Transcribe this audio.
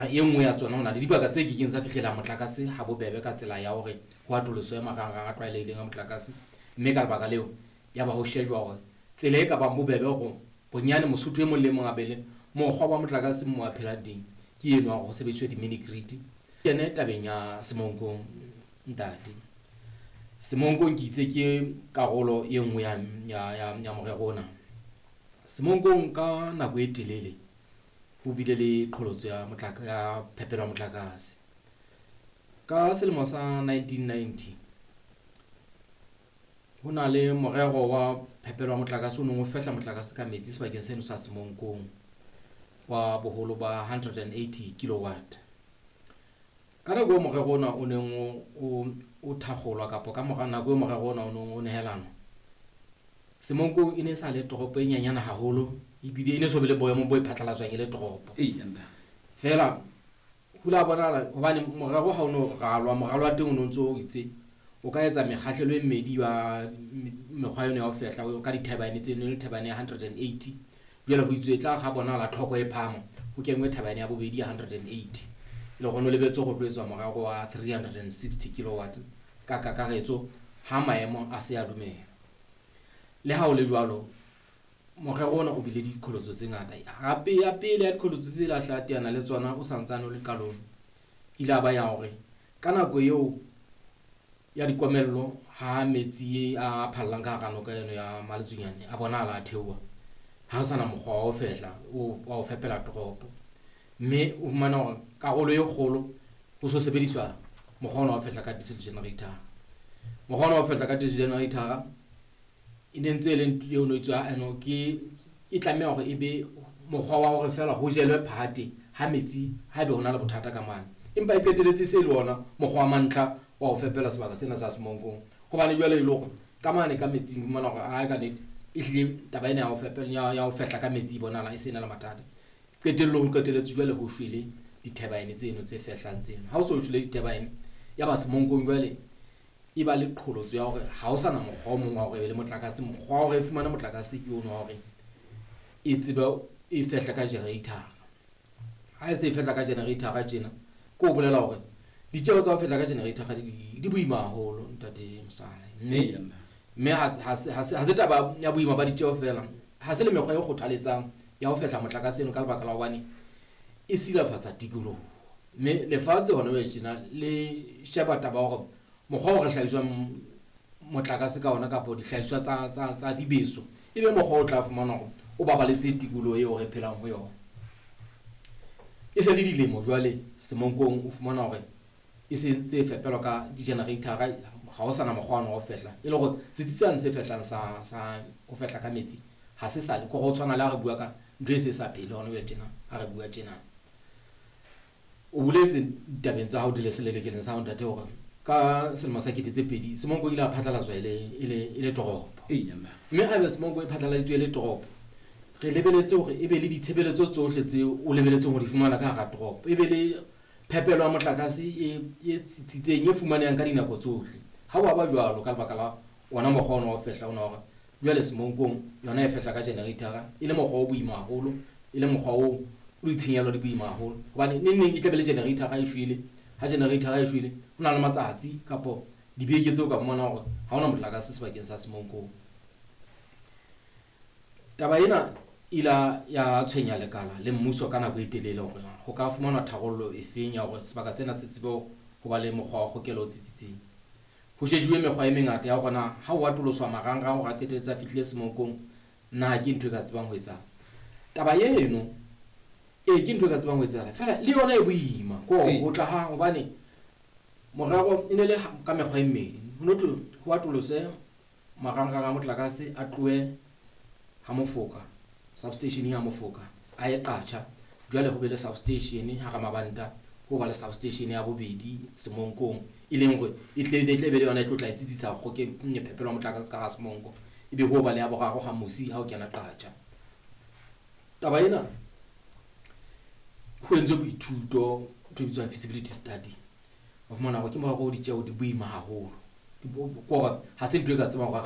E nngwe ya tsona, ho na le dibaka tse kekeng tsa fihlela motlakase ha bobebe ka tsela ya hore ho atoloswe marangrang a tlwaelehileng a motlakase, mme ka lebaka leo ya ba ho shejwa hore tsela e ka bang bobebe hore bonyane Mosotho e mong le mong a be le mokgwa wa motlakase mo a phelang teng ke eno wa hore ho sebediswe di-mini grid. Kene tabeng ya Semonkong, ntate. Semonkong ke itse ke karolo e nngwe ya morero ona. Semonkong ka nako e telele ho bile le qholotso ya ya phepelo ya motlakase. Ka selemo sa 1990 ho na le morero wa phepelo ya motlakase o neng o fehla motlakase ka metsi sebakeng seno sa Semonkong wa boholo ba 180 kilowatt. Ka nako eo morero ona o neng o thakgolwa kapa ka mora nako eo morero ona o neng o nehelanwa, Semonkong e ne e sa le toropo e nyenyane haholo, ebile e ne so be le boemo bo e phatlalatswang e le toropo. Feela ho ile ha bonahala hobane morero ha o no ralwa, moralo wa teng o no ntso o itse o ka etsa mekgahlelo e mmedi ya mekgwa eno ya ho fehla ka di-turbine tseno, e le turbine ya 180. Jwale ho itswe e tla ha bonahala tlhoko e phahama, ho kenngwe turbine ya bobedi ya 180. Le hore ho lebetse ho tlo etswa morero wa 360 kilowatt ka kakaretso ha maemo a se a dumela. Le ha ho le jwalo, morero ona o bile diqholotso tse ngata. Hape ya pele ya diqholotso tse la hla teana le tsona o santsane o le qalong, ile a ba ya hore ka nako eo ya dikomello ha metsi a phallang ka hara noka eno ya Maletsunyane a bonahala a theoha, ha ho sana mokgwa wa ho fehla wa ho fepela toropo, mme o fumana hore karolo e kgolo ho so sebediswa mokgwa ona wa ho fehla ka diesel generator. Mokgwa ona wa ho fehla ka diesel generator e ne ntse e le ntho eo no itswa eno ke e tlameha hore e be mokgwa wa hore feela ho jelwe phate ha metsi ha ebe ho na le bothata ka mane, empa e qeteletse se le ona mokgwa wa mantlha wa ho fepela sebaka sena sa Semonkong. Hobane jwale e le hore ka mane ka metsing o fumana hore ae ka nnete ehlile taba ena ya ho fepela ya ho fehla ka metsi e bonahala e se na le mathata. Qetellong ho qeteletse jwale ho shwele di-turbine tseno tse fehlang tseno. Ha o so shwele di-turbine ya ba Semonkong jwale e ba le qholotso ya hore ha o sana mokgwa o mong wa hore e be le motlakase. Mokgwa wa hore e fumane motlakase ke ono wa hore e tsebe e fehle ka generator. Ha e se e fehla ka generator tjena, ke ho bolela hore ditjeho tsa ho fehla ka generator di boima haholo ntate Mosala. Mme ha se taba ya boima ba ditjeho feela, ha se le mekgwa e kgothaletsang ya ho fehla motlakase eno ka lebaka la hobane e silafatsa tikoloho. Mme lefatshe hona jwale tjena le sheba taba ya hore mokgwa o re hlahiswang motlakase ka ona kapa dihlahiswa tsa dibeso e be mokgwa o tla fumana hore o babaletse tikoloho eo re phelang ho yona. E se le dilemo jwale Semonkong o fumana hore e se ntse e fepelwa ka di-generator, ha ho sana mokgwa wa ho fehla, e le hore setsi sane se fehlang sa ho fehla ka metsi ha se sa le, ke ho tshwana le ha re bua ka ntho e se sa phele hona jwale tjena ha re bua tjena. O boletse ditabeng tsa hao di le selelekeleng sa hao ntate hore ka selemo sa 2000 Semonko ile a phatlalatswa e le toropo. Mme haebe Semonko e phatlaladitswe e le toropo, re lebeletse hore e be le ditshebeletso tsohle tse o lebeletseng ho di fumana ka hara toropo, e be le phepelo ya motlakase e tsitsitseng e fumanehang ka dinako tsohle. Ha wa ba jwalo ka lebaka la ona mokgwa ona wa ho fehla ona hore jwale Semonkong yona e fehla ka generator e le mokgwa o boima haholo, e le mokgwa o o ditshenyehelo di boima haholo. Hobane neng neng e tla be le generator e shwele, ha generator e shwele ho na le matsatsi kapo dibeke tseo ka fumana hore ha hona motlakase sebakeng sa Semonkong. Taba ena ila ya tshwenya lekala le mmuso ka nako e telele hore ho ka fumanwa tharollo e feng ya hore sebaka sena se tsebe ho ba le mokgwa wa kgokelo o tsitsitseng. Ho shejuwe mekgwa e mengata ya hore na ha o atoloswa marangrang hore a qetelletse a fihlile Semonkong, na ke ntho e ka tsebang ho etsahala. Taba eno ee ke ntho e ka tsebang ho etsahala, feela le yona e boima ke hore ho tla ha hobane morero e ne le ka mekgwa e mmedi. Ho no thwe ho atolose marangrang a motlakase a tlohe ha Mofoka, substation ya Mofoka a ye Qacha, jwale ho be le substation hara mabanta, ho ba le substation ya bobedi Semonkong, e leng hore e tle e tle be le yona e tlo tla e tsitsisa phepelo ya motlakase ka hara Semonko, ebe ho ba le ya boraro ha mosi ha o kena Qacha. Taba ena ho entswe boithuto ntho e bitswang feasibility study, o fumana hore ke morero o ditjeho di boima haholo, ke hore ha se ntho e ka tsebang hore